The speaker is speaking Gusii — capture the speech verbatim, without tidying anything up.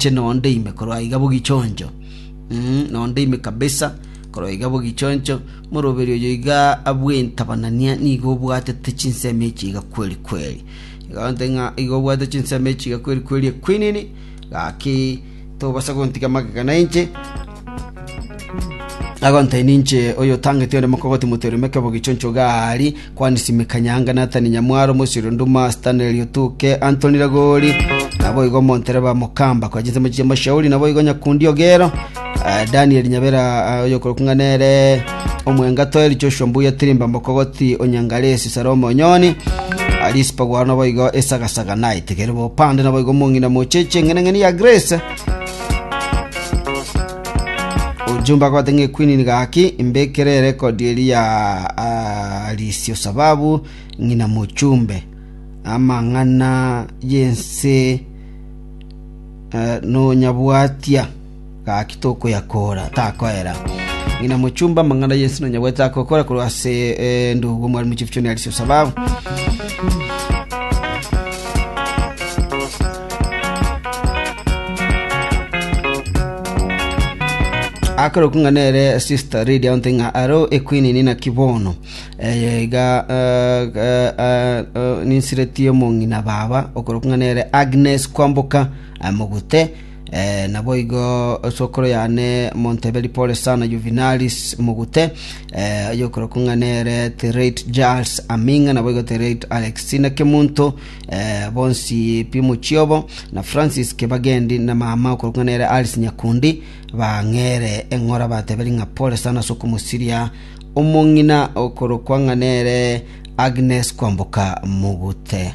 Ninche nonde ime korwa iga bogichoncho. Mm, nonde ime kabisa korwa iga bogichoncho moroberi oyo iga abwentabanania nigo obwatete chinsemo echi iga kweri kweri. Iga onte ng'a iga obwate chinsemo echi iga kweri kweri ekwinini gaki tobasa gontiga magega na inche agonte ninche oyo tangeti onde mokogoti motereme kebogichoncho gari kwanisimika nyanga Nathan Nyamwaro Musiro Nduma Stanley Otuke Anthony Ragori nabo igo Montereba Mokamba kwa chinsemo chia mashauri nabo igo Nyakundi Ogero uh, Daniel Nyabera uh, oyo korokung'a nere Omwenga Toeri Joshua Mbuya Tirimba Mokogoti Onyangaresi Salomo Onyoni Alice Pagwaro nabo igo Esagasaga Night Kerebo Pande nabo igo Mong'ina Mocheche ng'eneng'eni ya Grace ujumbe agote ng'e queen gaki imbekere record eri ya Alisio sababu ng'ina mochumbe amang'ana yense uh, nonyabwatia gaki tokoyakora takoera ng'ina mochumba amang'ana yense nonyabwatia takokora korwa ase eh, ndugu mwalimu chief John Alisio sababu akero kung'a nere sister radio onte ng'a aro equeen nina kibono eh, iga eh, eh, eh, ninsiretie omong'ina baba okoro kung'a nere Agnes Kwamboka eh, Mogute eh, nabo igo sokoro yane Monteberi pole sana Juvenalis Mogute eh, oyokoro kung'a nere Terate Charles Aminga nabo igo Terate Alexina Kemunto eh, bonsi Pimuchiobo na Francis Kebagendi na mama okoro kung'a nere Alice Nyakundi bang'ere eng'ora bateberi ng'a pole sana sokomusiria omong'ina okoro kwang'a nere Agnes Kwamboka Mogute.